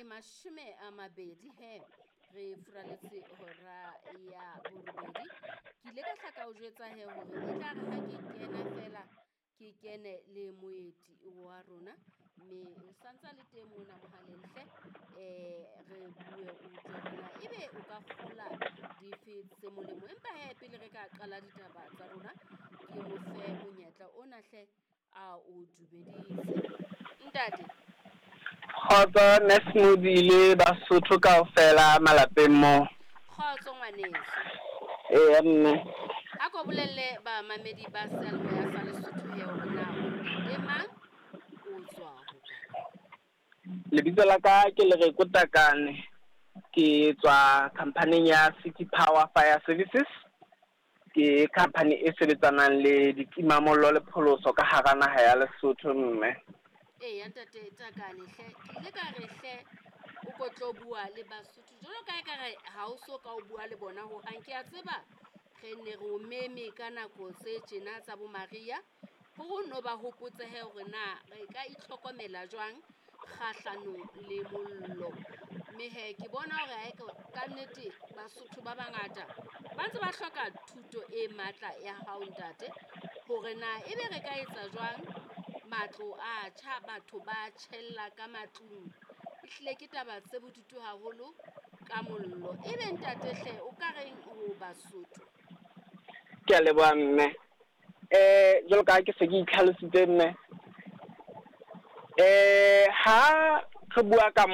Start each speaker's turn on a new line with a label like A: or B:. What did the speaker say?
A: e 20 he re furaletse hora ya borobedi. Ke ile ka hla ka o jwetsa he hore e tla re ha ke kena fela ke kene le moeti wa rona, mme o santsa le teng mona mohaleng hle. Re bue o utlwe hore na ebe o ka kgola dife tse molemo. Empa he pele re ka qala ditaba tsa rona, ke mo fe monyetla ona hle a o dumedise. Ntate.
B: Kgotso Nurse le Basotho kaofela malapeng moo.
A: Kgotso ngwaneso.
B: Eya mme.
A: A ko bolelle bamamedi ba seyalemoya sa Lesotho he hore na o ntate mang, o tswa hokae.
B: Lebitso la ka ke Lereko Takane. Ke tswa company ya City Power Fire Services. Ke company e sebetsanang le ditimamollo le pholoso ka hara naha ya Lesotho mme.
A: Eya ntate Takane hle, ke ile ka re hle o ko tlo bua le Basotho jwalo ka ekare ha o so ka o bua le bona hohang. Ke a tseba re ne re o meme ka nako tse tjena tsa bo Maria hore o no ba hopotse he hore na re ka itlhokomela jwang kgahlanong le mollo. Mme he ke bona hore ha ka nnete Basotho ba bangata ba ntse ba hloka thuto e matla ya hao ntate, hore na ebe re ka etsa jwang matlo a tjha, batho ba tjhella ka matlung. Ehlile ke taba tse bodutu haholo ka mollo. Ebe ntate hle o ka reng ho Basotho?
B: Ke a leboha mme. Jwalo ka ha ke se ke itlhalositse mme. Ha re bua ka